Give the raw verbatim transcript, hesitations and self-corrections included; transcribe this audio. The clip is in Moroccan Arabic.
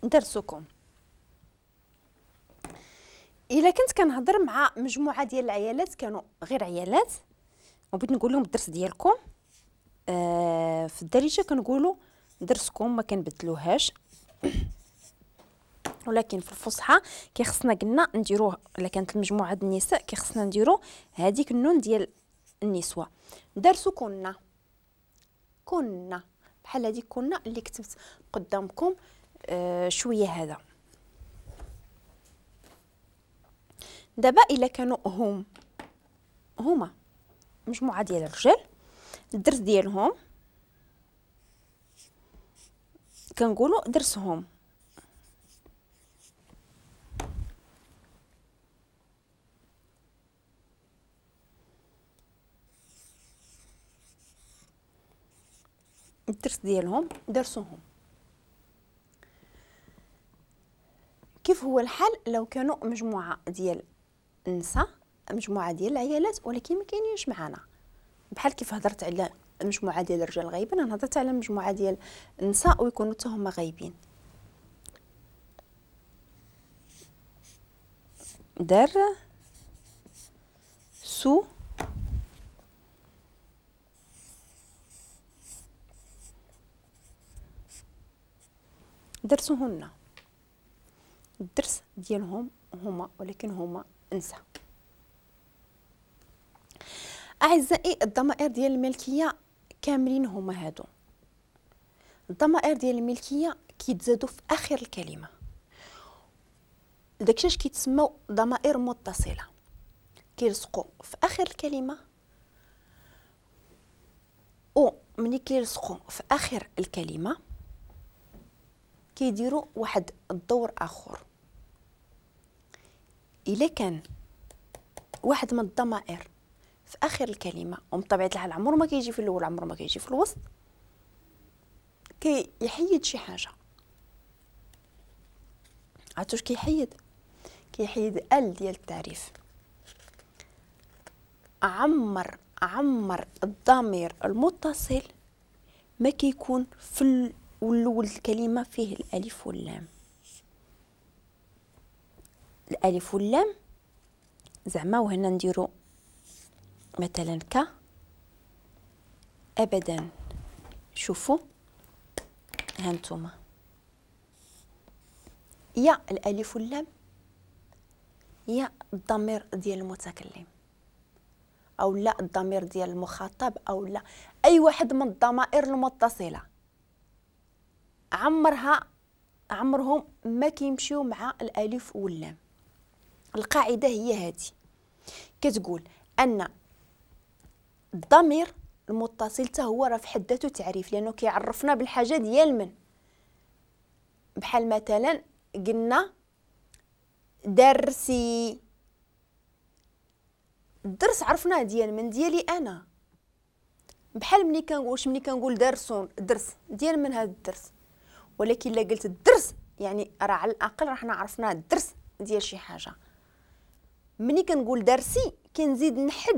درسكم. الا كنت كنهضر مع مجموعة ديال العيالات، كانوا غير عيالات، وبغيت نقول لهم الدرس ديالكم، آه في الدارجة كنقولوا درسكم ما كنبدلوهاش، ولكن في الفصحى كيخصنا قلنا نديروه. الا كانت المجموعة ديال النساء كيخصنا نديرو هذيك النون ديال النسوة. درسكن، كنا بحال هذيك كنا اللي كتبت قدامكم آه شوية. هذا دابا الا كانوا هم هما مجموعة ديال الرجال، الدرس ديالهم كنقولوا درسهم. الدرس ديالهم درسهم. كيف هو الحال لو كانوا مجموعة ديال النساء، مجموعة ديال العيالات، ولكن ما كاينينش معانا؟ بحال كيف هضرت على مجموعة ديال الرجال غايبين، انا هضرت على مجموعة ديال النساء ويكونوا حتى هما غايبين. در سو درسهن، الدرس ديالهم هما، ولكن هما نساء. اعزائي الضمائر ديال الملكية كاملين هما هادو. الضمائر ديال الملكية كيتزادوا في اخر الكلمة، داكشي اش كيتسموا ضمائر متصلة، كيلصقوا في اخر الكلمة، و ملي كيلصقوا في اخر الكلمة كيديروا واحد الدور اخر. الا كان واحد من الضمائر في اخر الكلمة، ومن طبيعة الحال عمره ما كيجي في الاول، عمره ما كيجي في الوسط، كيحيد شي حاجة. عرفتوا واش كيحيد؟ كيحيد ال ديال التعريف. عمر عمر الضمير المتصل ما كيكون في الاول الكلمة فيه الالف واللام. الالف واللام زعما، وهنا نديرو مثلا ك ابدا. شوفوا هانتوما يا الالف واللام يا الضمير ديال المتكلم، او لا الضمير ديال المخاطب، او لا اي واحد من الضمائر المتصلة، عمرها عمرهم ما كيمشيو مع الالف واللام. القاعدة هي هذه، كتقول ان الضمير المتصل حتى هو راه في حد ذاته تعريف، لانه كيعرفنا بالحاجة ديال من. بحال مثلا قلنا درسي، الدرس عرفناه ديال من؟ ديالي انا. بحال ملي كنقول ملي كنقول درسون، درس ديال من هذا الدرس، ولكن الا قلت الدرس يعني راه على الاقل راه حنا عرفنا الدرس ديال شي حاجة. ملي كنقول درسي كنزيد نحدد